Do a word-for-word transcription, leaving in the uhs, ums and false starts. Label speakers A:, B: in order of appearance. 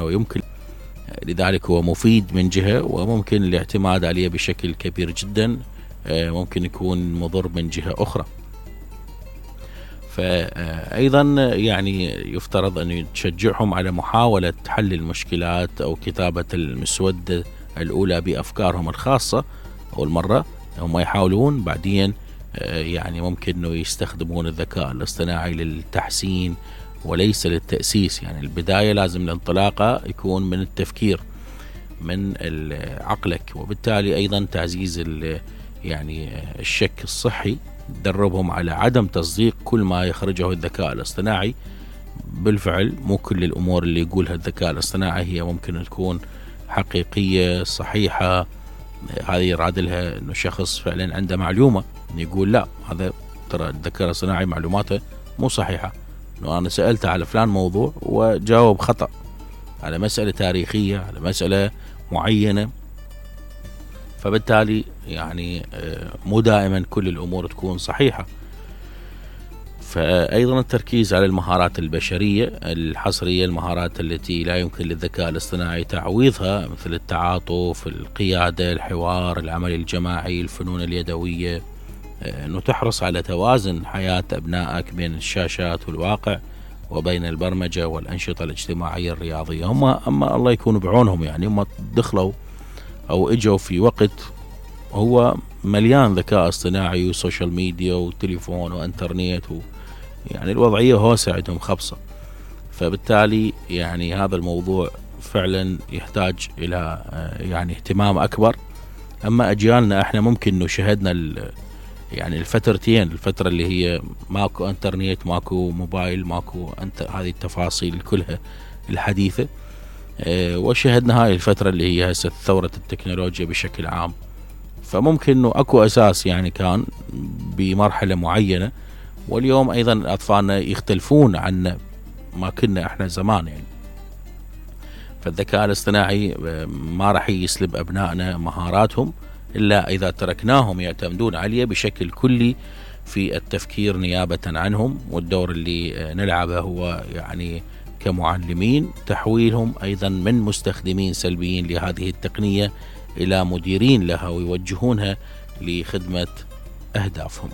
A: ويمكن لذلك هو مفيد من جهة، وممكن الاعتماد عليه بشكل كبير جدا ممكن يكون مضر من جهة أخرى. فأيضا يعني يفترض أن تشجعهم على محاولة حل المشكلات أو كتابة المسودة الأولى بأفكارهم الخاصة. أول مرة هم يحاولون، بعدين يعني ممكن أنه يستخدمون الذكاء الاصطناعي للتحسين وليس للتأسيس. يعني البداية لازم الانطلاقة يكون من التفكير من عقلك، وبالتالي أيضا تعزيز يعني الشك الصحي، دربهم على عدم تصديق كل ما يخرجه الذكاء الاصطناعي. بالفعل مو كل الأمور اللي يقولها الذكاء الاصطناعي هي ممكن تكون حقيقية صحيحة. هذه يراد لها أنه شخص فعلا عنده معلومة يقول لا، هذا ترى الذكاء الاصطناعي معلوماته مو صحيحة، أنه أنا سألته على فلان موضوع وجاوب خطأ على مسألة تاريخية، على مسألة معينة. فبالتالي يعني مو دائما كل الأمور تكون صحيحة. فأيضا التركيز على المهارات البشرية الحصرية، المهارات التي لا يمكن للذكاء الاصطناعي تعويضها، مثل التعاطف، القيادة، الحوار، العمل الجماعي، الفنون اليدوية. أنه تحرص على توازن حياة أبنائك بين الشاشات والواقع، وبين البرمجة والأنشطة الاجتماعية الرياضية. هم أما الله يكون بعونهم، يعني هم دخلوا أو إجوا في وقت هو مليان ذكاء اصطناعي وسوشيال ميديا وتليفون وانترنت، و يعني الوضعية هوسة عندهم خبصة. فبالتالي يعني هذا الموضوع فعلا يحتاج إلى يعني اهتمام أكبر. أما أجيالنا احنا ممكن انه شهدنا يعني الفترتين، الفترة اللي هي ماكو انترنت، ماكو موبايل، ماكو انت هذه التفاصيل كلها الحديثة، اه وشهدنا هاي الفترة اللي هي هسه ثورة التكنولوجيا بشكل عام. فممكن انه اكو اساس يعني كان بمرحلة معينة، واليوم ايضا اطفالنا يختلفون عن ما كنا احنا زمان. يعني فالذكاء الاصطناعي ما راح يسلب ابنائنا مهاراتهم إلا إذا تركناهم يعتمدون عليه بشكل كلي في التفكير نيابة عنهم. والدور اللي نلعبه هو يعني كمعلمين تحويلهم أيضا من مستخدمين سلبيين لهذه التقنية إلى مديرين لها، ويوجهونها لخدمة أهدافهم.